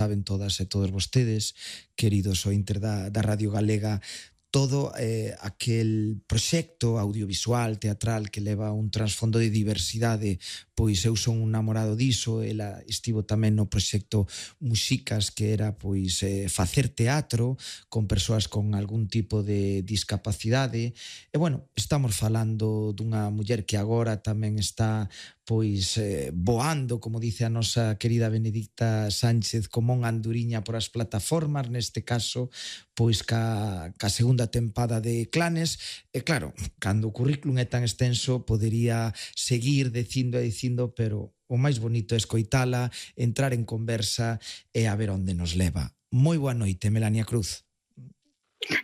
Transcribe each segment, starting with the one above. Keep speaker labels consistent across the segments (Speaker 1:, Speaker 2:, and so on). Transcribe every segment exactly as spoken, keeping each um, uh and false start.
Speaker 1: saben todas e todos vostedes, queridos ointes da, da Radio Galega, todo eh, aquel proxecto audiovisual, teatral que leva un trasfondo de diversidade, pois eu son un namorado diso, ela estivo tamén no proxecto Muxicas, que era pois eh, facer teatro con persoas con algún tipo de discapacidade, e bueno, estamos falando dunha muller que agora tamén está pois eh, voando, como dice a nosa querida Benedicta Sánchez, como unha anduriña por as plataformas, neste caso, pois ca, ca segunda tempada de Clanes, e claro, cando o currículum é tan extenso, podería seguir dicindo e dicindo, pero o máis bonito é escoitala, entrar en conversa e a ver onde nos leva. Moi boa noite, Melania Cruz.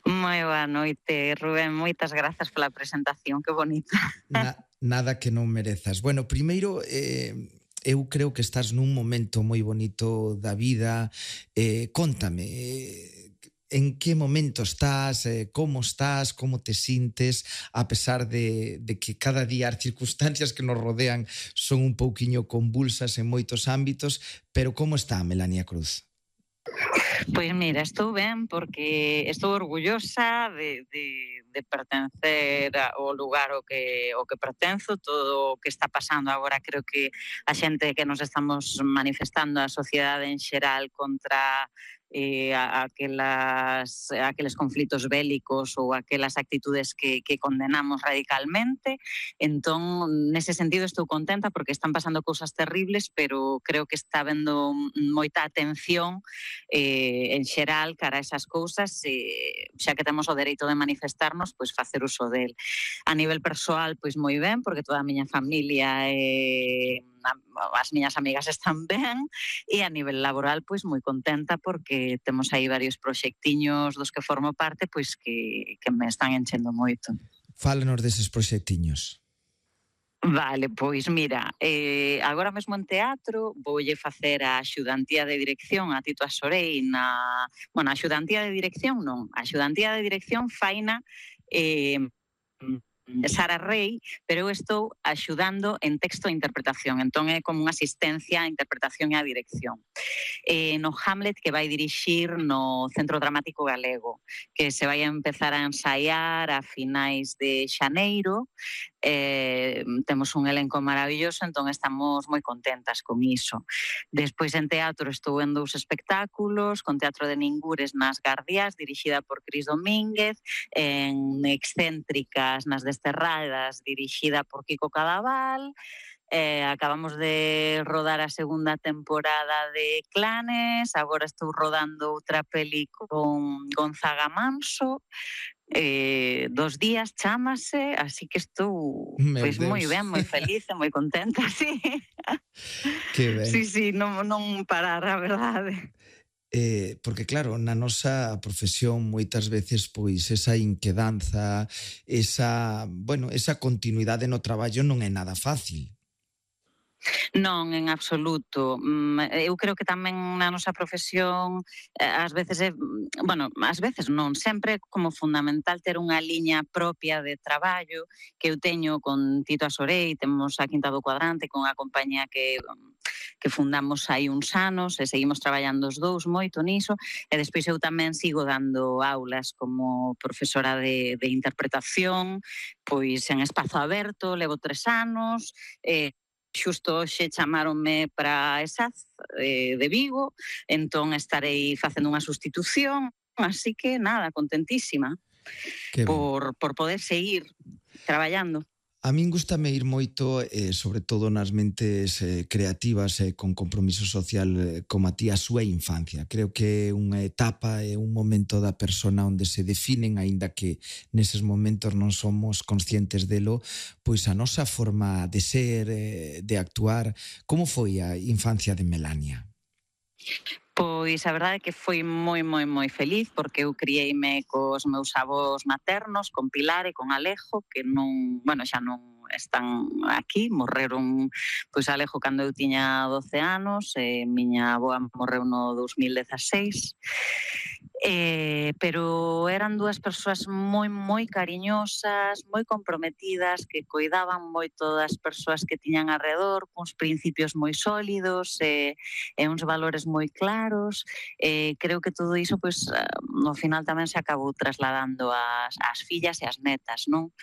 Speaker 2: Moi boa noite, Rubén, moitas grazas pola presentación, que bonita.
Speaker 1: Na, nada que non merezas. Bueno, primeiro, eh, eu creo que estás nun momento moi bonito da vida. Eh, cóntame, eh, en que momento estás, eh, como estás, como te sintes, a pesar de, de que cada día as circunstancias que nos rodean son un pouquiño convulsas en moitos ámbitos, pero como está Melania Cruz?
Speaker 2: Pois mira, estou ben porque estou orgullosa de, de, de pertencer ao lugar ao que, ao que pertenzo. Todo o que está pasando agora, creo que a xente que nos estamos manifestando, a sociedade en xeral, contra eh, aquelas, aqueles conflitos bélicos ou aquelas actitudes que, que condenamos radicalmente. Entón, nese sentido estou contenta porque están pasando cousas terribles, pero creo que está habendo moita atención eh, en xeral cara a esas cousas, eh, xa que temos o dereito de manifestarnos, pois facer uso del. A nivel persoal, pois moi ben, porque toda a miña familia e eh, as miñas amigas están ben, e a nivel laboral, pois moi contenta porque temos aí varios proxectiños dos que formo parte, pois que, que me están enchendo moito.
Speaker 1: Fálanos deses proxectiños.
Speaker 2: Vale, pois mira, eh, agora mesmo en teatro voulle facer a axudantía de dirección a Tito Asorei na... Bueno, a axudantía de dirección non, a axudantía de dirección faina eh, Sara Rey, pero eu estou axudando en texto e interpretación, entón é como unha asistencia a interpretación e a dirección. Eh, no Hamlet que vai dirixir no Centro Dramático Galego, que se vai a empezar a ensaiar a finais de xaneiro. Eh, temos un elenco maravilloso, entón estamos moi contentas con iso. Despois en teatro estou en dous espectáculos, con Teatro de Ningures nas Gardias, dirixida por Cris Domínguez, en Excéntricas nas Desterradas, dirixida por Kiko Cadaval. Eh, acabamos de rodar a segunda temporada de Clanes, agora estou rodando outra peli con Gonzaga Manso, eh, dos días chámase, así que estou pois moi ben, moi feliz e moi contenta, sí.
Speaker 1: Que ben.
Speaker 2: Sí, sí, non, non parar, a verdade.
Speaker 1: Eh, porque claro, na nosa profesión moitas veces pois esa inquedanza, esa, bueno, esa continuidade no traballo non é nada fácil.
Speaker 2: Non, en absoluto. Eu creo que tamén na nosa profesión ás veces é, bueno, ás veces non, sempre é como fundamental ter unha liña propia de traballo que eu teño con Tito Asorei, temos a Quinta do Cuadrante con a compañía que que fundamos hai uns anos e seguimos traballando os dous moito niso, e despois eu tamén sigo dando aulas como profesora de, de interpretación, pois en espazo aberto, levo tres anos, e xusto hoxe chamaronme para ESAZ eh, de Vigo, entón estarei facendo unha sustitución, así que nada, contentísima por, por poder seguir traballando.
Speaker 1: A min gustame ir moito, eh, sobre todo nas mentes eh, creativas e eh, con compromiso social eh, como a ti a súa infancia. Creo que é unha etapa e un momento da persona onde se definen, aínda que neses momentos non somos conscientes delo, pois a nosa forma de ser, eh, de actuar. Como foi a infancia de Melania?
Speaker 2: Pois a verdade é que foi moi, moi, moi feliz porque eu criei-me cos meus avós maternos, con Pilar e con Alejo, que non, bueno, xa non están aquí, morreron, pois Alejo cando eu tiña doce anos, e miña avoa morreu no dos mil dezaseis. Eh, pero eran dúas persoas moi, moi cariñosas, moi comprometidas, que coidaban moito das persoas que tiñan alrededor, cuns principios moi sólidos e, e uns valores moi claros. Eh, creo que todo iso, pois, no final tamén se acabou trasladando ás, ás fillas e ás netas, non?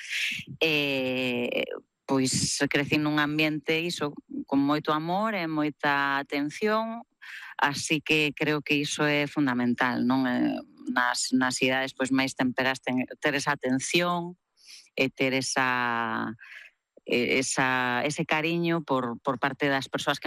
Speaker 2: Eh, pois crecín nun ambiente iso, con moito amor e moita atención, así que creo que iso é fundamental, non? Eh, nas, nas idades pois máis temperas ten, ter esa atención e ter esa, esa ese cariño por, por parte das persoas que